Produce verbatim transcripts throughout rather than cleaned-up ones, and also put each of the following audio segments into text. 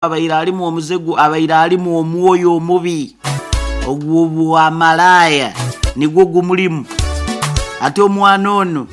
Abaire alimu omuzigu, abaire alimu omwoyo omubi ogw'obwamalaaya nigwo gumulimu. Ate omwana ono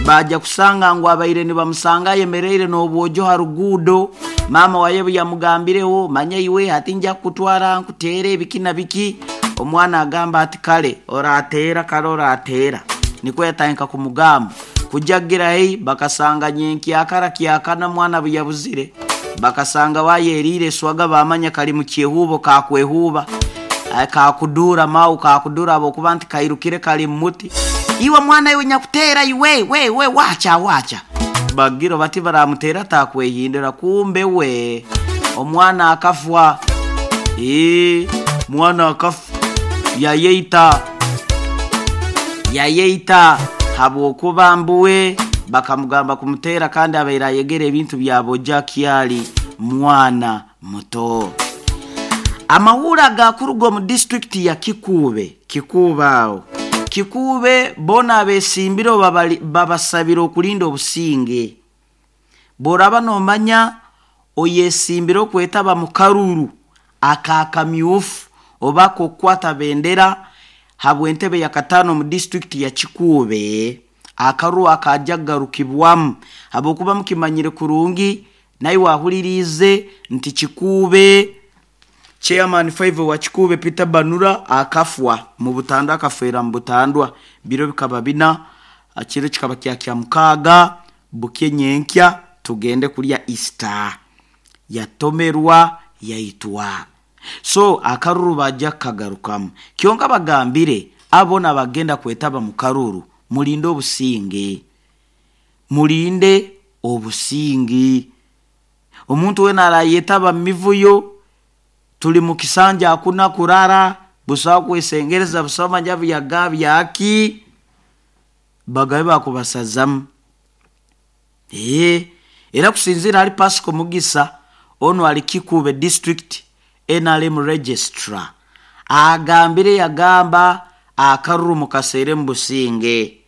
baja kusanga ngu abaire nibamusanga ayemereire n'obwojo ha ruguudo. Maama waye bwe yamugambireho, manya iwe hati nja kukutwara nkuteere biki na biki, omwana agamba ati kale orateera, kale orateera. Nikwo yatandika kumugamba. Kujja kugira haihi bakasanga nyenkyakara kyakana mwana bwe yabuzire, bakasanga wayeriire eswaga, bamanya kali mu kyehuubo kakwehuuba, kakuduura mau kakuduura habwokuba nti kairukire kali mu muti. Iwe mwana iwe nyakuteera iwe we we wacha wacha, bagira bati baramuteera takwehindura, kumbe we omwana akafwa. Ee, mwana akafa, yayeita yayeita habwokuba mbuwe bakamugamba kumuteera, kandi abaire ayegera ebintu bya bojja akyali mwana muto. Amahuri agakuruga omu disitulikiti ya Kikuube, Kikuube aho Kikuube, boona abesimbire babasabire okulinda obusinge. Bw'oraba nomanya oyesimbire okwetaba mu karuru akakamyufu oba ak'okukwata bendera habw'entebe ya kataano omu disitulikiti ya Kikuube, akaruru akajja kugarukibwamu, habwokuba mukimanyire kurungi naiwe ahuliriize nti Kikuube chairman five wa Kikuube Peter Banura akafwa mu butandwa, akafeera mu butandwa. Biro bikaba bina, kiro kikaba kya kya mukaaga bukye nyenkya tugende kulya Easter, yatomerwa yaitwa. So akaruru bajja kukagarukamu. Kyonka bagambire abo boona abagenda kwetaba mu karuru, mulinde obusinge, mulinde obusinge. Omuntu weena arayetaba mu mivuyo, tuli mu kisanja hakuna kurara, busaho kwesengereza, busaho manya byaga byaki, bagabe bakubasazamu. Ee, era kusinziira hali Pascal Mugisa, onu ali Kikuube district N R M registrar, agambire yagamba akaruru mukaseere mu businge,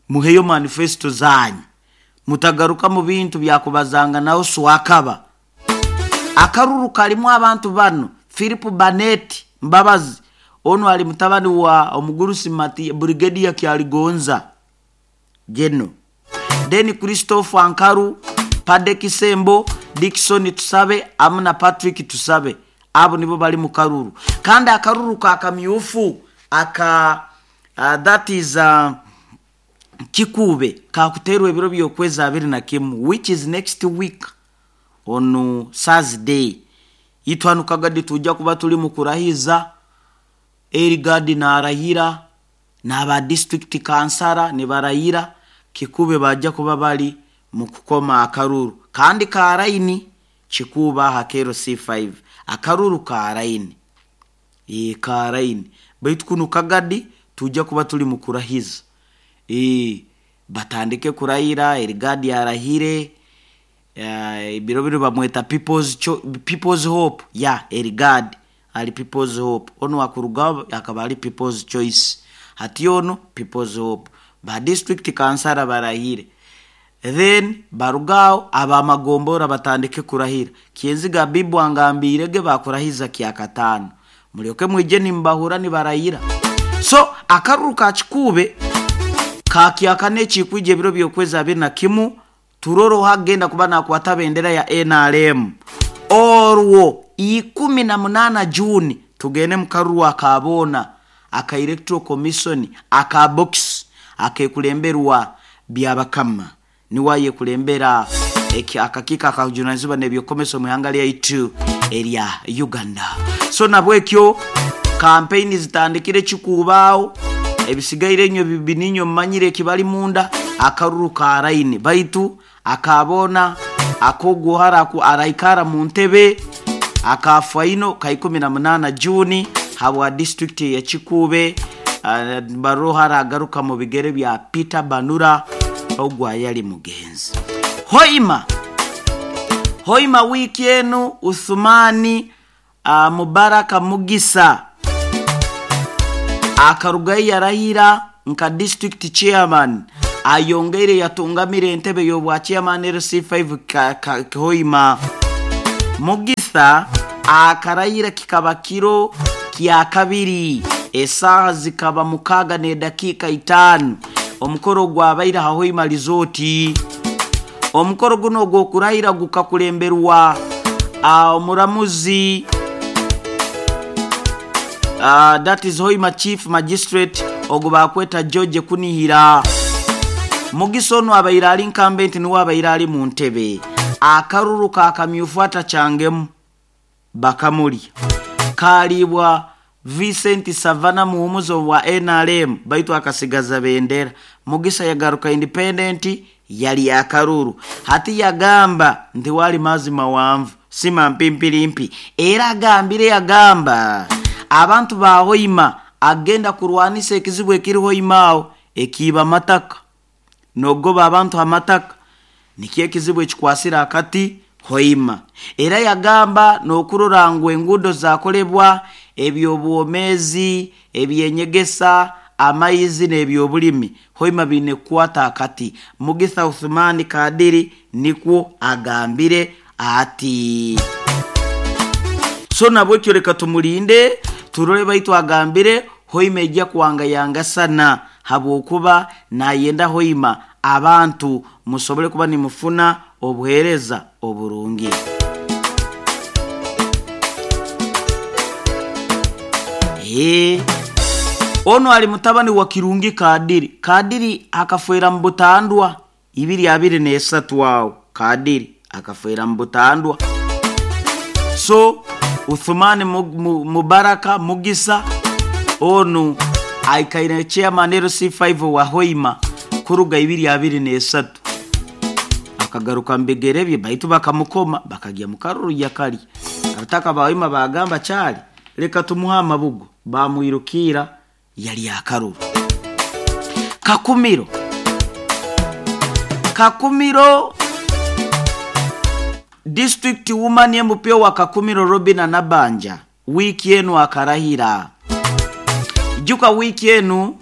muheyo manifesto zanyu, mutagaruka mu bintu byakubazanganaho swakaba. Akaruru kalimu abantu bano: Philip Banet Mbabazi, onu ali mutabani wa omugurusi Mati Brigadier Kyaligonza Geno, then Christopher Ankaru, Pade Kisembo, Dickson Tusabe amu na Patrick Tusabe, abo nibo bali mu karuru. Kandi akaruru ka kamyufu aka uh, that is uh, Kikuube kakuterwa ebiro by'okwezi abiri na kimu, which is next week on Thursday. Itwanu kagadi tujja kuba tuli mu kurahiza, Erigadi narahira n'aba district kansara nibarahira. Kikuube bajja kuba bali mu kukoma akaruru kandi ka line Kikuube aha kero C five, akaruru ka line, ee, ka line. Baitu kunu kagadi tujja kuba tuli mu kurahiza, ee, batandike kurahira, Erigadi arahire ebiro biro bamweta people's, Cho People's Hope ya Erigadi ali People's Hope, onu akurugaho akaba ali People's Choice, hati onu People's Hope. Ba district kansara barahire, then barugaho abamagombora batandike kurahira. Kyenziga bibu angambirege bakurahiza kyakataano, mulyoke mwije nimbahura nibarahira. So akaruru ka Kikuube kakyakana ekikwija ebiro by'okwezi abiri na kimu, turoro hagenda kuba nakwata bendera ya N R M. Orwo ikumi na munana Juni tugende mu karuru akaboona aka Electoral Commission aka box akekulemberwa Byabakama, niwayekulembera akakiiko akajunanizibwa n'ebyokomesa omu ihanga lyaitu erya Uganda. So nabwekyo kampeyini zitandikire kikuubaawo, ebisigaire enywe bininyo mumanyire ekibali munda. Akaruru ka line, baitu akaboona akoguhara araikara mu ntebe akafaino ka ikumi na munana Juni habwa district ya Kikuube, uh, baroha aragaruka mu bigere bya Peter Banura ogwa yali mugenzi. Hoima, Hoima wiki enu Uthumani uh, Mubaraka Mugisa akarugayo yarahira nka district chairman, ayongeire yatungamira entebe y'obwa chairman L C five ka, ka, Hoima. Mugisa akarayira kikaba kiro kya kabiri, esaaha zikaba mukaaga n'edakiika itaano. Omukoro gwabaire ha Hoima Resort. Omukoro guno ogw'okurayira gukakulemberwa omuramuzi uh, that is Hoima Chief Magistrate ogu bakweta George Kunihira. Mugisa ono abaire ali incumbent, niwe abaire ali mu ntebe. Akaruru kakamyufu atakyangemu bakamulya kaliibwa Vincent Savana muhumuzo wa N R M, baitu akasigaza bendera. Mugisa yagaruka independent, yali akaruru. Hati yagamba nti wali mazima wanvu sima mpimpirimpi. Era agambire yagamba abantu ba Hoima agenda kurwanisa ekizibu ekiri Hoima aho ekiiba amataka nogoba abantu amataka, nikyo ekizibu ekikwasira akati Hoima. Era yagamba n'okurora ngu enguudo zakolebwa, ebyobwomezi, ebyenyegesa, amaizi n'ebyobulimi Hoima biine kukwata akati. Mugisa Uthmani Kadiri nikwo agambire ati. So nabwekyo reka tumulinde turole, baitu agambire Hoima ejja kuwangayanga sana habwokuba nayenda Hoima abantu musobole kuba nimufuna obuheereza oburungi. Eh, ono ali mutabani wa Kirungi Kadiri. Kadiri akafwera mu butandwa ibiri abiri n'esatu awo. Kadiri akafwera mu butandwa. So Uthmani Mubaraka Mugisa onu aikaire chairman L C five wa Hoima kuruga ibiri abiri n'esatu. Akagaruka mbigere bye baitu bakamukoma bakagya mukaruru yakali. Abataka ba Hoima bagamba kyali reka tumuha amabugo, bamwirukira yali akaruru. Kakumiro Kakumiro District Woman M P wa Kakumiro Robina Nabanja wiki enu akarahira. Juka wiki enu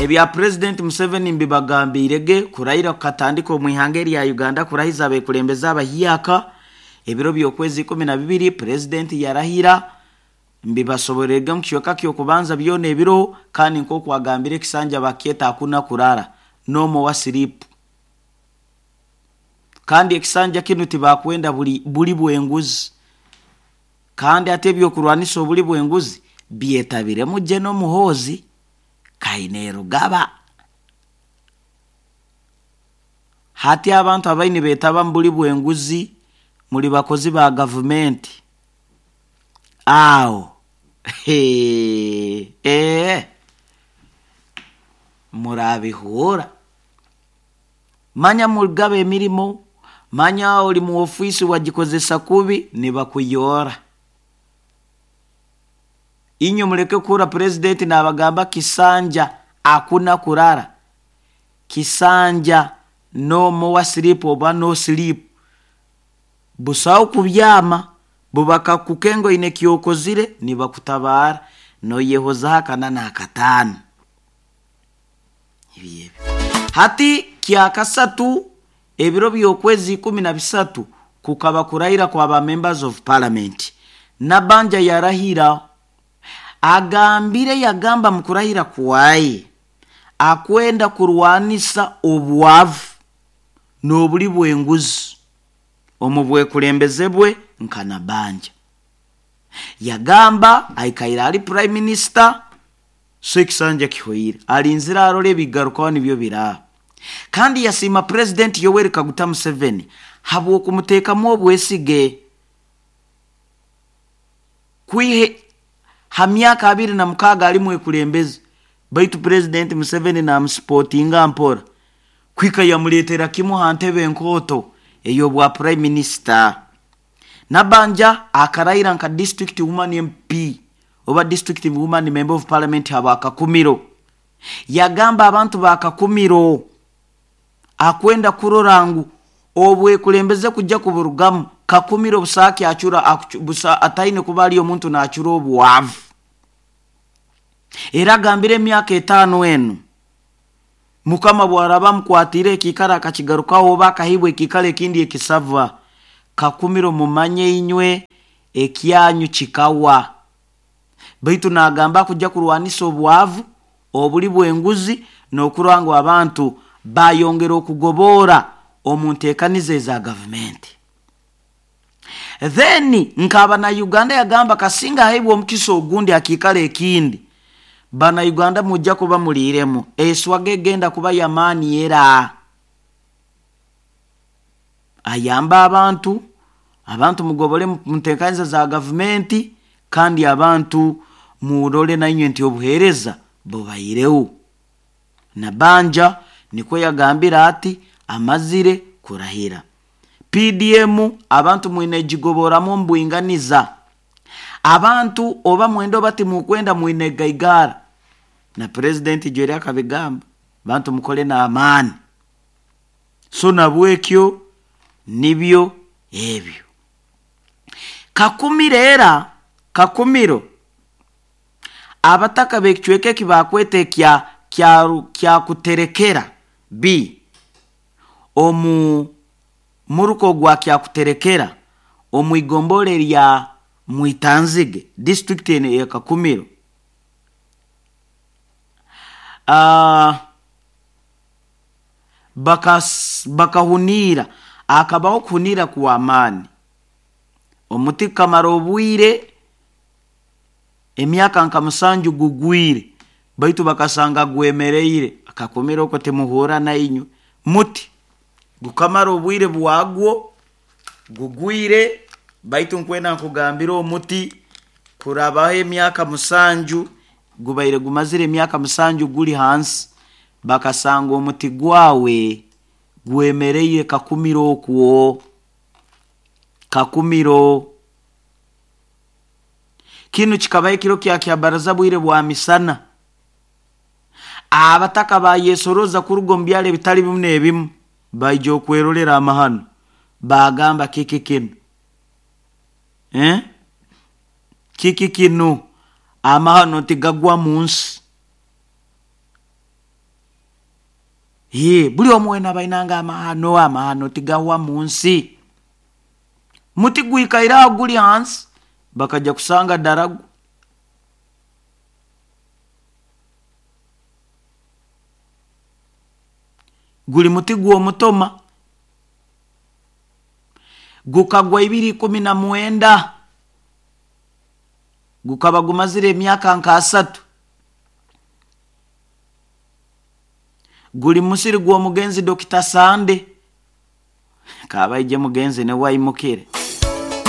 ebya President Museveni mbibagambirege kurahira katandiko mu ihanga lya Uganda kurahiza abekulembeza abahiyaka ebiro by'okwezi ikumi na bibiri President yarahira mbibasoborerege mu kiyoka kyo kubanza byona ebiro, kandi nko kwagambire kisanja baketa akuna kurara nomo wa sleep. Kandi ekisanja kinu tibakwenda buli buli bwenguzi, kandi ate ebyokurwanisa obuli bwenguzi byetabiremu General Muhoozi Kainerugaba. Hati abantu abaini betaba mbuli bwenguzi muli bakozi ba gavumenti awo he eh murabihura manya mugabe emirimo, manya oli mu ofisi wajikozesa kubi nibakuyora. Inyo muleke kura president n'abagamba kisanja akuna kurara, kisanja no more sleep oba no sleep, busawo kubyama bubaka kukengo ine kyokozire nibakutabara no yehoza kana na katano ibi. Hati kyakasatu ebiro by'okwezi ikumi na bisatu kukaba kurahira kwa ba members of parliament. Nabanja yarahira agambire yagamba mukurahira kwaye akwenda kurwanisa obwavu n'obuli bwenguzi omubwekulembeze bwe nka Nabanja. Yagamba aikaira ali prime minister so ekisanja kihoire alinzira arole ebigarukaho nibyo bira. Kandi yasima President Yoweri Kaguta Museveni habw'okumuteekamu obwesige kwihe ha myaka abiri na mukaaga ali mwekulembeze, baitu President Museveni namusipotinga mpora kwika yamuleetera kimu ha ntebe enkooto ey'obwa prime minister. Nabanja akarayira nka district woman M P oba district woman member of parliament haba Kakumiro. Yagamba abantu ba Kakumiro akwenda kurora ngu obwekulembeze kujja kuburugamu Kakumiro busaki achura busa ataine kubali omuntu naachura obwavu. Era gambire emyaka etaano enu Mukama bwaraba mukwatire ekikara akakigarukaho oba akahibwa ekikara ekindi ekisava Kakumiro mumanye inywe ekyanyu kikawa. Baitu nagamba kujja kurwanisa obwavu obuli bw'enguzi n'okurangwa abantu bayongera okugobora omu nteekaniza eza gavumenti. Then nkaba na Uganda yagamba kasinga haibwa omukisa ogundi akiikala ekindi bana Uganda mujja kuba muliiremu eswaga egenda kuba yamaani era ayamba abantu abantu mugobole mu nteekaniza za gavumenti kandi abantu murole nainywe nti obuheereza bubaireho. Nabanja nikwo yagambira ati amazire kurahira. P D M abantu mwine jigoboramu mbwinganiza abantu oba mwendo bati mukwenda mwine gaigara na president Jerry akabigamba bantu mukole na amani. So nabwekyo nibyo ebyo. Kakumiro era Kakumiro abataka bekicweke kibakwete kya kya kya kuterekera B omu muruko gwa kya kuterekera omu igombole lya Mwitanzige district ya Kakumiro. Ah, bakas bakahunira akabaho kuhunira kwa amani omuti kamara obwire emyaka nka musanju gugwire baitu bakasanga gwemereire. Akakumira oko temuhura na inywe muti gukamara obwire bwagwo gugwire baitu nkwena nkugambira omuti kurabaho emyaka musanju gubaire gumazire emyaka musanju guli hansi bakasanga omuti gwawe gwemereire Kakumiro okwo Kakumiro. Kinu kikabaye ekiro kya kyabaraza bwire bwa misana abataka bayesoroza kuruga omu byalo ebitali bimu n'ebimu baija okwerolera amahano bagamba kiki kinu eh? Kiki kinu amahano tigagwa mu nsi. Ye buli omwe bainanga amahano amahano tigagwa mu nsi muti gwikaira guli hansi bakaja kusanga daragu. Guli muti gw'omutoma gukagwa ibiri kumi na mwenda gukaba gumazire emyaka nka asatu guli musiri gw'omugenzi Dokita Sande kabaije mugenzi ne waimukire.